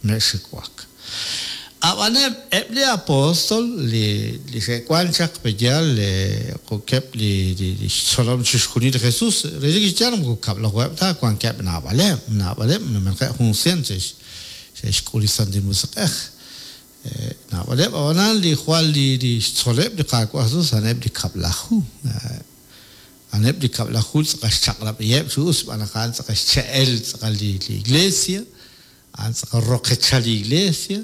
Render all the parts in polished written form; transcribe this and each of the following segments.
Mexxiwak. Ab'an eb' li apóstol li li xe'wank chaq pe'yaal jo'keb' li li xtzolom chixjunil li Jesús, relik chi yaal moko kab'lajuheb' ta, wankeb' naab'aleb', naab'aleb' numenaqeb' jun sient xe'xk'ul li Santil Musiq'ej. Naab'aleb' ab'anan li jwal li li xtzoleb' li Qaawa' Jesús a'aneb' li kab'laju. A'aneb' li kab'laju tz'aqal xchaq'rab'iheb' chi us xb'aan naq a'an tz'aqal xche'el tz'aqal li Iglesia. A'an tz'aqal roqechal li Iglesia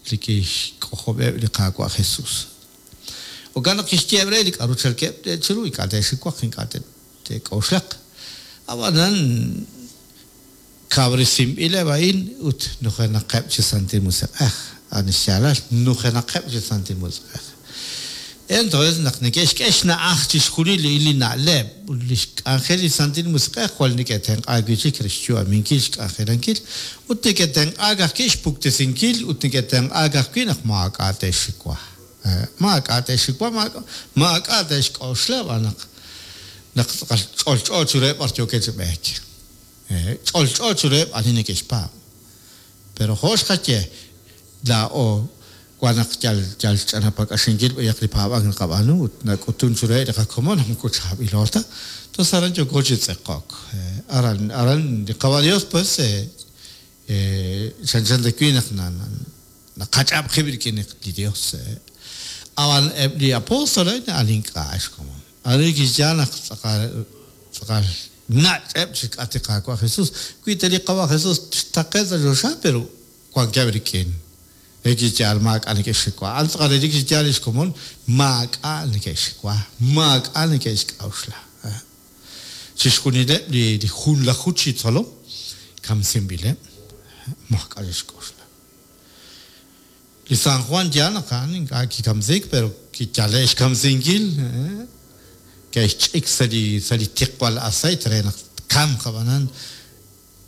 li kixk'ojob'eb' li Qaawa' Jesus. Jo'kan naq kixyeeb' re li k'a'ru chalkeb' chiru, ink'a' te'xiwaq, ink'a' te'k'oxlaq. A'b'anan, kawresinb'ileb' a'in ut nujenaqeb' chi Santil Musiq'ej. A'an xyaalal, nujenaqeb' chi Santil Musiq'ej. Entonces, naq neke'xk'e xna'aj chixjunil li na'leb' ut lix k'anjel li Santil Musiq'ej, jwal neke'tenq'aak wi'chik re xyu'aminkil xk'anjelankil, ut neke'tenq'aak ajwi' xpuktesinkil, ut neke'tenq'aak ajwi' naq maak'a' te'xxiwa. Maak'a' te'xxiwa, maak'a' te'xk'oxla b'an naq naq tz'aqal ch'olch'o chiruheb' b'ar yookeb' chi b'eek. Ch'olch'o chiruheb' ani neke'xpaab'. Pero jo' xqaye, laa'o wan naq yal yal xch'anapak'axinkil b'ayaq li paab'ank naqab'aanu ut nak'utun chiruheb' li qakomon naq moko chaab'ilo ta. Entonces aran yooko chi tz'eqok. Aran aran li Qawa' Dios pues chanchan ta wi' naq naqach'ab' qib' rik'in li Dios. Ab'an eb' li apóstol a'in a'an ink'a' xkomon. Arin kixye naq tz'aqal tz'aqal nach'eb' chi xk'atq li Qaawa' Jesus. Wi ta li Qaawa' Jesus xtaqe' sa' choxa, pero wankeb' rik'in. Relik chi yaal maak'a' neke'xxiwa. A'an tz'aqal relik chi yaal lix komon maak'a' neke'xxiwa, maak'a' neke'xk'a'uxla. Chixjunileb' li junlaju chi tzolom kamsinb'ileb', maak'a' xe'xk'oxla. Li San Juan yaal naq a'an ink'a' kikamsiik pero kiyale' xkamsinkil, ke'xch'ik sa' li sa' li tiqwal aceite re naq tkamq ab'anan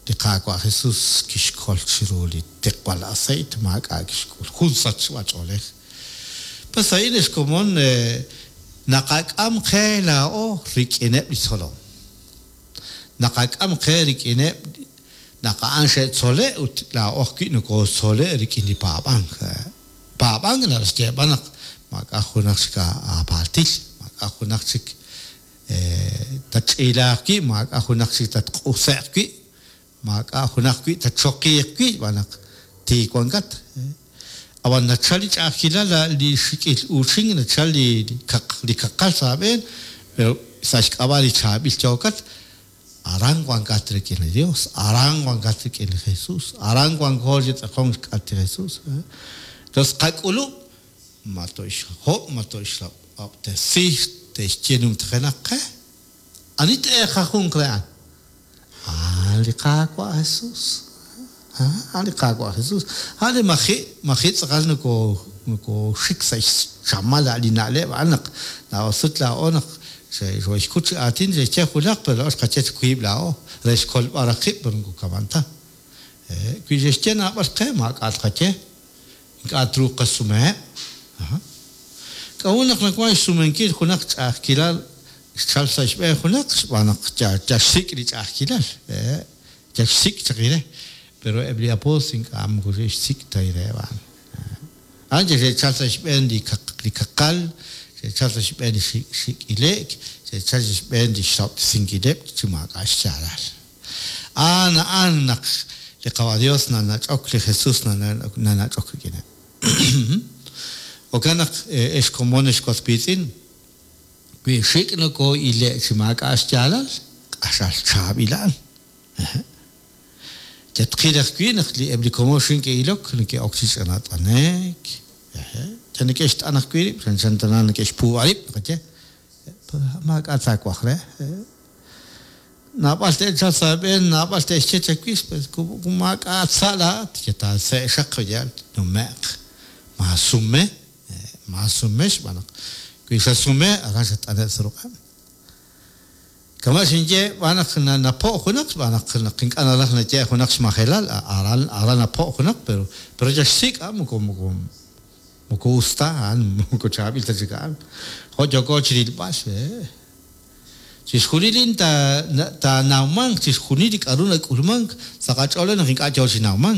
li Qaawa' Jesus kixkol chiru li tiqwal aceite maak'a' kixk'ul, jun sachb'ach'oolej. Pues a'in ex komon naqak'am qe laa'o rik'ineb' li tzolom. Naqak'am qe rik'ineb' naq a'an xe'tzole' ut laa'o ajwi' nokotzole' rik'in li paab'ank. Paab'ank naraj xyeeb'al naq maak'a' junaq chik aapaaltil, maak'a' junaq chik tatch'iilaaq wi', maak'a' junaq chik tatq'use'q wi', maak'a' junaq wi' tatchoqiiq wi' xb'aan naq tiik wankat. Ab'an nachal li ch'a'ajkilal, li xik'il uuchink, nachal li kaqal sa' aab'een, pero sa' xk'ab'a' li chaab'il yookat, aran wankat rik'in li Dios, aran wankat rik'in li Jesus, aran wanko chi tz'aqonk xk'atq li Jesus. Entonces qak'ulub' ma to'xhob', ma to'xrab'tesi, te'xye numtajenaq qe. Ani t-eeqajunq re a'an? A'an li Qaawa' Jesus. A'an li Qaawa' Jesus. A'an li maji' maji' tz'aqal noko nokooxik sa' xchamal a' li na'leb' a'an naq laa'o sut laa'o naq xooxkut chi aatin xe'xye junaq pero laa'o xqaye chi wiib' laa'o re xkolb'al raj qib' pero moko kama'an ta. Wi xe'xye naab'al qe maak'a' tqaye. Ink'a' truuq qasumeheb'. K'a'ut naq nawank xsumenkil junaq ch'a'ajkilal xchalk sa' xb'een junaq? Xb'aan naq yal xsik' li ch'a'ajkilal. Yal xsik' chaq ire. Pero eb' li apóstol ink'a' moko xe'xsik' ta reheb' a'an. A'an yal xe'chalk sa' xb'een li kaqal, xe'chalk sa' xb'een li xik' ile'k, xe'chalk sa' xb'een li xrahob'tesinkileb' chi maak'a' xyaalal. A'an a'an naq li Qawa' Dios nanach'ok, li Jesus nanach'ok rik'ineb'. Jo'kan naq, ex komon, ex was wiitz'in, wi xik' nokoo'ile' chi maak'a' xyaalal, q'axal chaab'il a'an. Yatqil ajwi' naq li eb' li komon xik' neke'ilok neke'ok chi ch'anat'anek, yal neke'xt'an ajwi' rib', chanchan tana neke'xpuub'a rib', naqaye. Maak'a' taawaj re. Naab'al te'chalq sa' aab'een, naab'al te'xye chawix, pues maak'a' sa' laa'at, ye taase' xaq yal tnume'q. Maasume, maasume xb'aan naq wi xasume aran xat'ane' sa' ruq'eb'. Kama' xinye xb'aan naq napo' junaq, xb'aan naq naq ink'a' naraj naye junaq xmajelal, aran aran napo' junaq, pero pero yal xsik' a'an moko moko moko us ta a'an, moko chaab'il ta chik a'an. Jo' yooko chirilb'al. Chixjunil a'in taanawmanq, chixjunil li k'a'ru nak'ulmank sa' qach'ool naq ink'a' yoo chi nawmank.